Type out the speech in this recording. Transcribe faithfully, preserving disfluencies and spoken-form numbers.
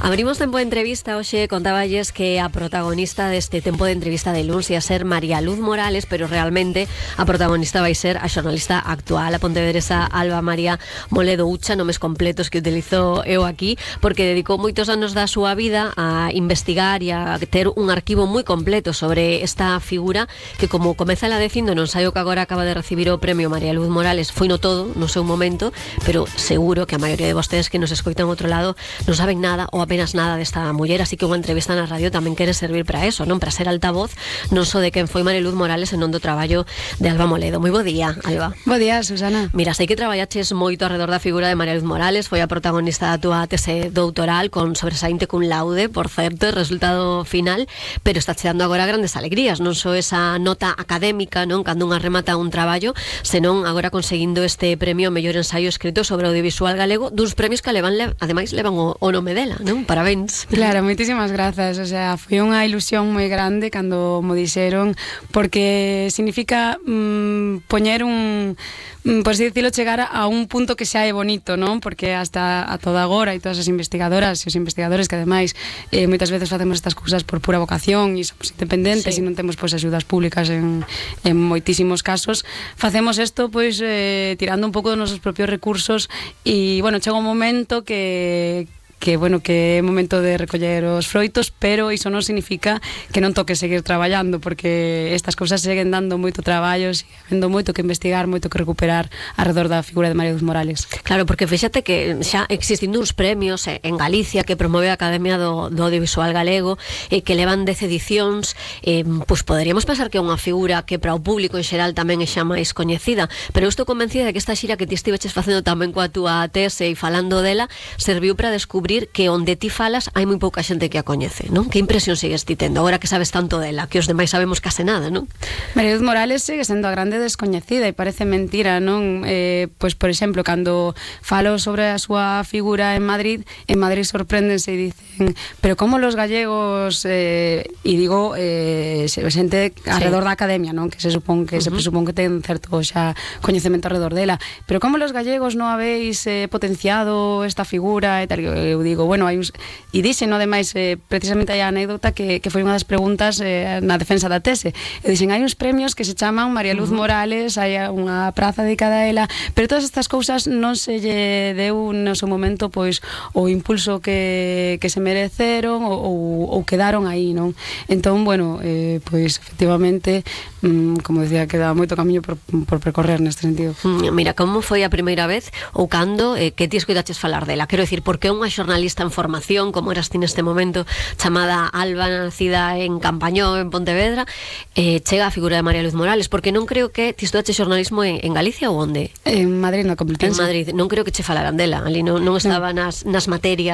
Abrimos tempo de entrevista. Hoxe contaballes que a protagonista deste tempo de entrevista de luns ia ser María Luz Morales, pero realmente a protagonista vai ser a xornalista actual, a pontevedresa Alba María Moledo Ucha, nomes completos que utilizo eu aquí, porque dedicou moitos anos da súa vida a investigar e a ter un arquivo moi completo sobre esta figura que, como comeza ela dicindo non saio que agora acaba de recibir o premio María Luz Morales, foi no todo no seu momento, pero seguro que a maioría de vostedes que nos escoitan ao outro lado non saben nada ou apenas nada desta muller, así que unha entrevista na radio tamén quere servir para eso, non? Para ser altavoz non só de quen foi María Luz Morales, senón do traballo de Alba Moledo. Moi bo día, Alba. Bo día, Susana. Mira, sei que traballaches moito alrededor da figura de María Luz Morales, foi a protagonista da túa tese doutoral con sobresaínte cum laude, por certo, resultado final, pero está che dando agora grandes alegrías, non só esa nota académica, non, cando unha remata un traballo, senón agora conseguindo este premio ao mellor ensaio escrito sobre audiovisual galego, duns premios que levan, ademais levan o, o nome dela, non? Parabéns. Claro, moitísimas grazas, o sea, foi unha ilusión moi grande cando mo dixeron, porque significa mmm, poñer un, mmm, por así decirlo, chegar a un punto que xa é bonito, non? Porque hasta a toda agora e todas as investigadoras e os investigadores que ademais eh, moitas veces facemos estas cousas por pura vocación e somos independentes, sí, e non temos pois axudas públicas en, en moitísimos casos, facemos isto pois eh, tirando un pouco dos nosos propios recursos e, bueno, chega un momento que que, bueno, que é momento de recoller os froitos, pero iso non significa que non toque seguir traballando, porque estas cousas seguen dando moito traballo, sigue habendo moito que investigar, moito que recuperar alrededor da figura de María Luz Morales. Claro, porque fíxate que xa existindo uns premios en Galicia que promove a Academia do, do Audiovisual Galego e que levan dez edicións, eh, pois poderíamos pensar que é unha figura que para o público en xeral tamén é xa máis coñecida, pero eu estou convencida de que esta xira que ti estiveches facendo tamén coa túa tese e falando dela serviu para descubrir que onde ti falas hai moi pouca xente que a coñece, non? Que impresión sigues ti tendo agora que sabes tanto dela, que os demais sabemos case nada, non? María Luz Morales sigue sendo a grande descoñecida e parece mentira, non? Eh, pois, por exemplo, cando falo sobre a súa figura en Madrid, en Madrid sorpréndense e dicen, pero como los gallegos, eh, e digo, eh, xente alrededor sí. da academia, non? Que se supón que uh -huh. se presupón que ten certo xa coñecemento alrededor dela, pero como los gallegos non habéis eh, potenciado esta figura e tal, eu digo, bueno, hai uns... E dixen, no demais, eh, precisamente hai a anécdota que, que foi unha das preguntas eh, na defensa da tese. E dixen, hai uns premios que se chaman María Luz uh -huh. Morales, hai unha praza dedicada a ela, pero todas estas cousas non se lle deu no seu momento pois o impulso que, que se mereceron ou, ou quedaron aí, non? Entón, bueno, eh, pois efectivamente, mm, como decía, queda moito camiño por, por percorrer neste sentido. Mira, como foi a primeira vez ou cando eh, que ti escoitaches falar dela? Quero dicir, porque unha xornalista en formación, como eras ti neste momento, chamada Alba, nacida en Campañón, en Pontevedra, eh, chega a figura de María Luz Morales, porque non creo que ti estudaste xornalismo en, en Galicia ou onde? En Madrid, na Complutense. En Madrid, non creo que che falaran dela, ali non, non estaba no. nas, nas materias